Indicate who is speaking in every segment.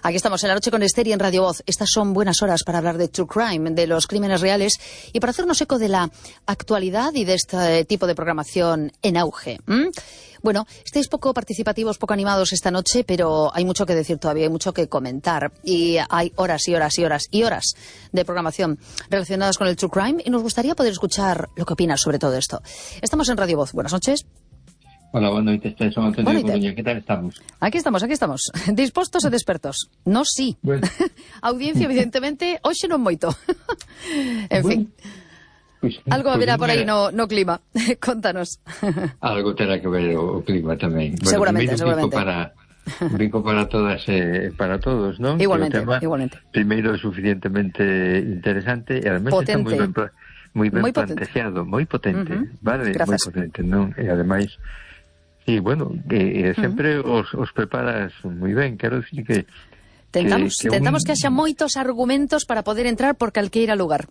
Speaker 1: Aquí estamos en La Noche con Esther y en Radio Voz. Estas son buenas horas para hablar de True Crime, de los crímenes reales y para hacernos eco de la actualidad y de este tipo de programación en auge. Bueno, estáis poco participativos, poco animados esta noche, pero hay mucho que decir todavía, hay mucho que comentar. Y hay horas y horas y horas y horas de programación relacionadas con el True Crime y nos gustaría poder escuchar lo que opinas sobre todo esto. Estamos en Radio Voz. Buenas noches.
Speaker 2: Hola, boa noite, son Antonio de Coruña, que tal estamos?
Speaker 1: Aquí estamos, dispostos e despertos. No, sí.
Speaker 2: Bueno.
Speaker 1: Audiencia, evidentemente, hoxe non moito. En fin, algo haberá por aí no clima. Contanos.
Speaker 2: Algo terá que ver o clima tamén. Bueno,
Speaker 1: seguramente.
Speaker 2: Brinco para todas para todos, ¿no?
Speaker 1: Igualmente.
Speaker 2: Primeiro, suficientemente interesante e además
Speaker 1: potente.
Speaker 2: Está moi ben planteado, moi potente, vale?
Speaker 1: Gracias.
Speaker 2: Moi potente, non? E ademais sí, bueno, sempre os preparas moi ben, quero dicir que
Speaker 1: Tentamos que haxa moitos argumentos para poder entrar por calqueira lugar.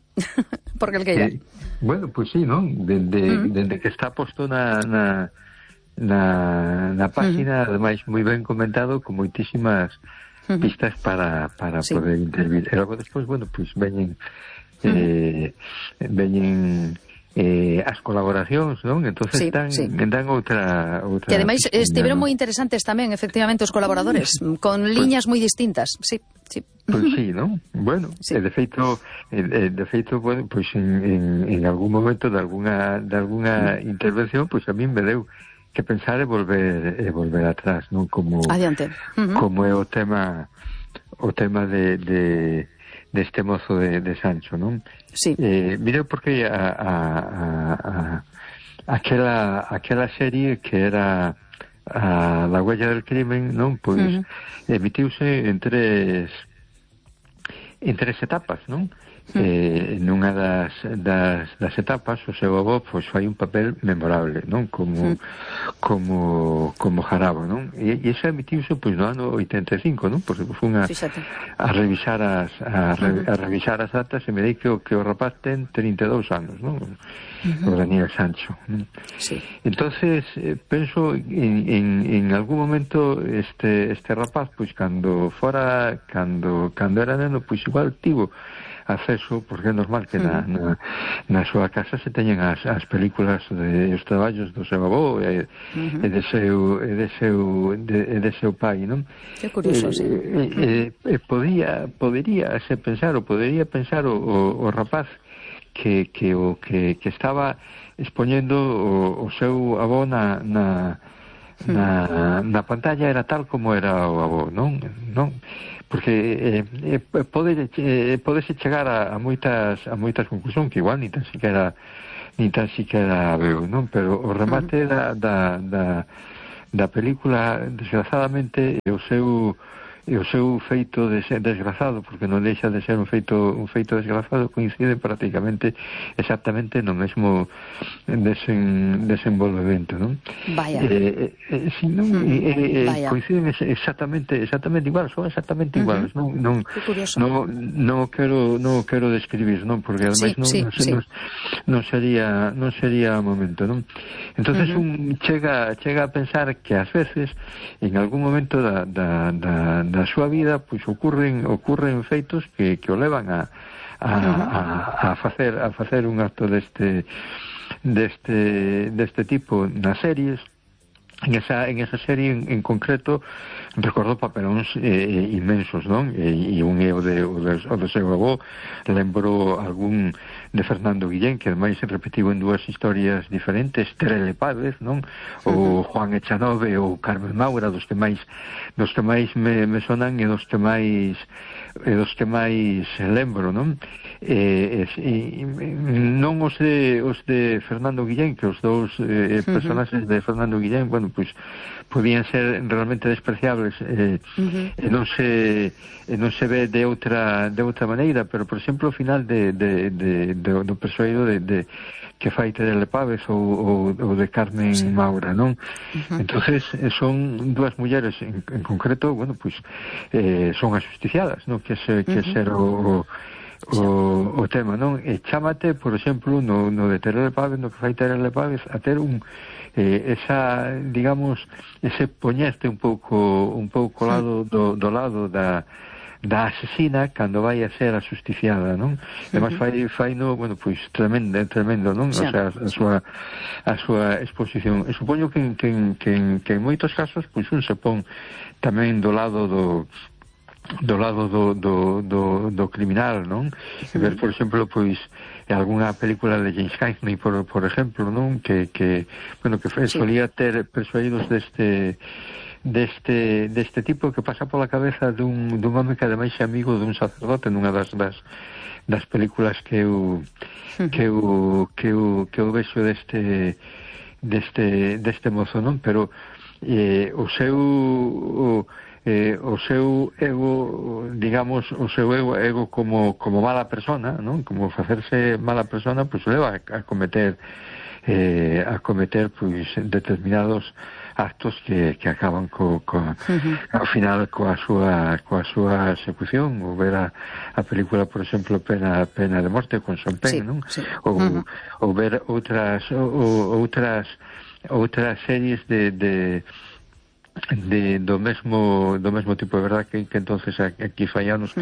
Speaker 1: Por calqueira.
Speaker 2: Bueno, pues sí, ¿no? Dende que está posto na página, ademais moi ben comentado, con moitísimas pistas para sí, poder intervir. E logo despois, bueno, pues veñen as colaboracións, non? Entonces dan outra
Speaker 1: que ademais estiveron moi interesantes tamén, efectivamente, os colaboradores, con liñas moi distintas. Sí.
Speaker 2: Pois sí, non? Bueno, sí. De feito, bueno, pois en algún momento de alguna intervención, pois a mí me deu que pensar e volver atrás, non? Como
Speaker 1: adiante.
Speaker 2: Como é o tema de este mozo de Sancho, non?
Speaker 1: Sí.
Speaker 2: Mira, porque aquela serie que era La huella del crimen, non? Pois emitiuse en tres etapas, non? Nunha das etapas o seu avó pois fai un papel memorable, non? Como Jarabo, non? E iso emitiuse pois no ano 85, non? Porque fun a revisar as datas e me dei que o rapaz ten 32 anos, non? O Daniel Sancho, non?
Speaker 1: Sí.
Speaker 2: Entonces penso en algún momento este rapaz pois cando era neno pois igual tivo acceso, porque é normal que na súa casa se teñen as películas os traballos do seu avó e de seu pai, non?
Speaker 1: Que curioso, sí.
Speaker 2: Podería pensar o rapaz que estaba expoñendo o seu avó na pantalla era tal como era o avó, non? Porque podese chegar a moitas conclusións que igual ni tan siquiera veo, non? Pero o remate da película, desgrazadamente, o seu feito desgrazado, porque non deixa de ser un feito desgrazado, coincide prácticamente exactamente no mesmo desenvolvemento, non?
Speaker 1: Vaya.
Speaker 2: Si non, coinciden exactamente igual, son exactamente iguales, non quero describir, non? Porque ademais non sería momento, non? Entonces un chega a pensar que ás veces en algún momento da súa vida pois ocurren feitos que o levan a facer un acto deste tipo nas series. En esa serie en concreto recordo papelóns inmensos, non? E un é o do seu avó, lembro algún de Fernando Guillén, que ademais se repetiu en dúas historias diferentes, Terele Pávez, non? O Juan Echanove ou Carmen Maura, dos que máis me sonan e dos que máis lembro, non? Non os de Fernando Guillén, que os dous personaxes de Fernando Guillén, bueno, pois podían ser realmente despreciables e non se ve de outra maneira, pero por exemplo o final do persoeiro de que fai Terele Pávez ou de Carmen Maura, non? Entonces son dúas mulleres en concreto, bueno, pois son as justiciadas, non? Que ser o tema, non? E chámate, por exemplo, no de Terele Pávez, no que fai Terele Pávez, a ter esa, digamos, ese poñerte un pouco lado do lado da asesina cando vai a ser ajusticiada, non? Además fai no, bueno, pois tremendo, non? O sea, a súa exposición. E supoño que en moitos casos, pois un se pon tamén do lado do criminal, non? E ver, por exemplo, pois algunha película de James Cagney, por exemplo, non? Que solía ter persuadidos deste tipo que pasa pola cabeza dun home que ademais é amigo dun sacerdote nunha das películas que eu vexo deste mozo, non? Pero o seu ego, digamos, o seu ego como mala persona, non? Como facerse mala persona, pois leva a cometer pois determinados actos que acaban ao final coa súa execución. Ou ver a película, por exemplo, Pena de Morte con Sean Penn, non? Ou ver outras series do mesmo tipo. É verdad que entonces aquí fai anos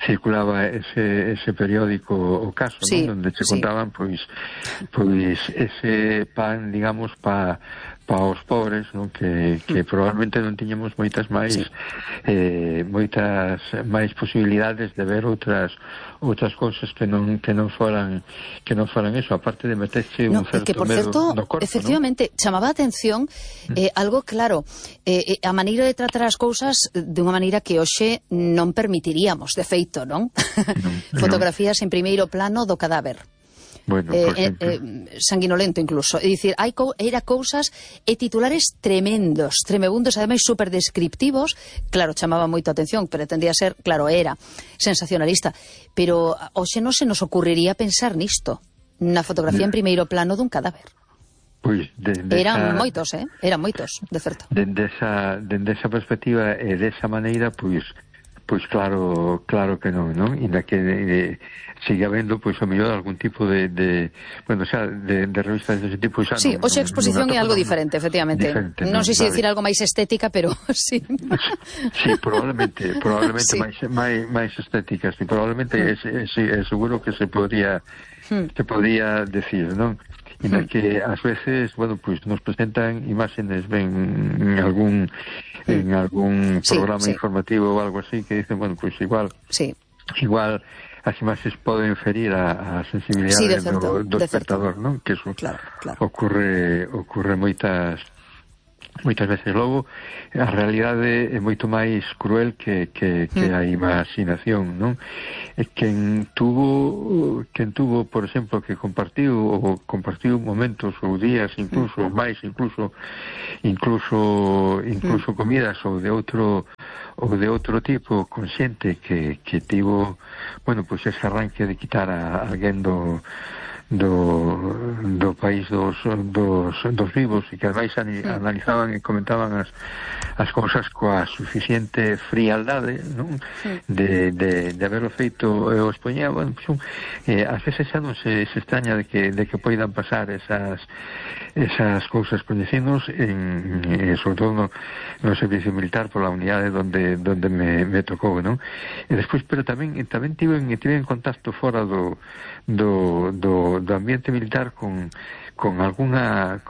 Speaker 2: circulaba ese periódico O Caso, ¿no? Donde se contaban pois ese pan, digamos, pa os pobres, ¿no? Que probablemente non tiñamos moitas máis posibilidades de ver outras cousas que non foran eso, aparte de meterse un certo medo no corpo.
Speaker 1: Efectivamente, chamaba a atención algo claro, a maneira de tratar as cousas dunha maneira que hoxe non permitiríamos, de feito, non? Fotografías en primeiro plano do cadáver.
Speaker 2: Bueno,
Speaker 1: sanguinolento incluso, é dicir, era cousas e titulares tremebundos, ademais super descriptivos. Claro, chamaba moito a atención, pretendía ser, claro, era sensacionalista, pero hoxe non se nos ocurriría pensar nisto, na fotografía en primeiro plano dun cadáver.
Speaker 2: Pois,
Speaker 1: eran moitos, de certo.
Speaker 2: Dende esa perspectiva e desa maneira, pois claro que non? Inda que sigue habendo, pois, o mellor algún tipo de revistas dese tipo.
Speaker 1: Sí, hoxe a exposición é algo diferente, efectivamente. Non sei se dicir algo máis estética, pero sí.
Speaker 2: Sí, probablemente máis estéticas, e probablemente seguro que se podría decir, non? En que ás veces, nos presentan imágenes en algún programa informativo ou algo así, que dicen, igual as imaxes poden ferir a sensibilidade do espectador, non? Que eso ocurre moitas veces. Logo, a realidade é moito máis cruel que a imaginación, non? Quen tuvo, por exemplo, que compartiu momentos ou días, incluso comidas ou de outro tipo, consciente que tivo, ese arranque de quitar a alguén do país dos vivos, e que ademais analizaban e comentaban as cousas coa suficiente frialdade, non? De haberlo feito e o expoñía. Ás veces xa non se extraña de que poidan pasar esas cousas, coñecinos sobre todo no servicio militar, pola unidade donde me tocou, non? E despois, pero tamén tiven contacto fora do ambiente militar con alguna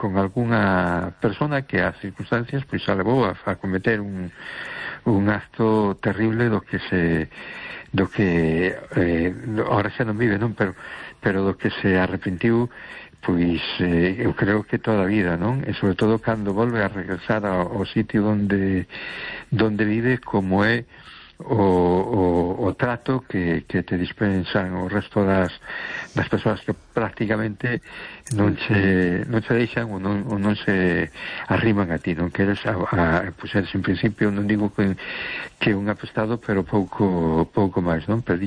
Speaker 2: persona que as circunstancias pois a levou a cometer un acto terrible do que ahora xa non vive, non? Pero do que se arrepentiu, pois eu creo que toda a vida, non? E sobre todo cando volve a regresar ao sitio onde vive, como é o trato que te dispensan o resto das persoas que prácticamente non se deixan ou non se arriman a ti, non? Que eres en principio, non digo que un apestado, pero pouco máis, non? Pero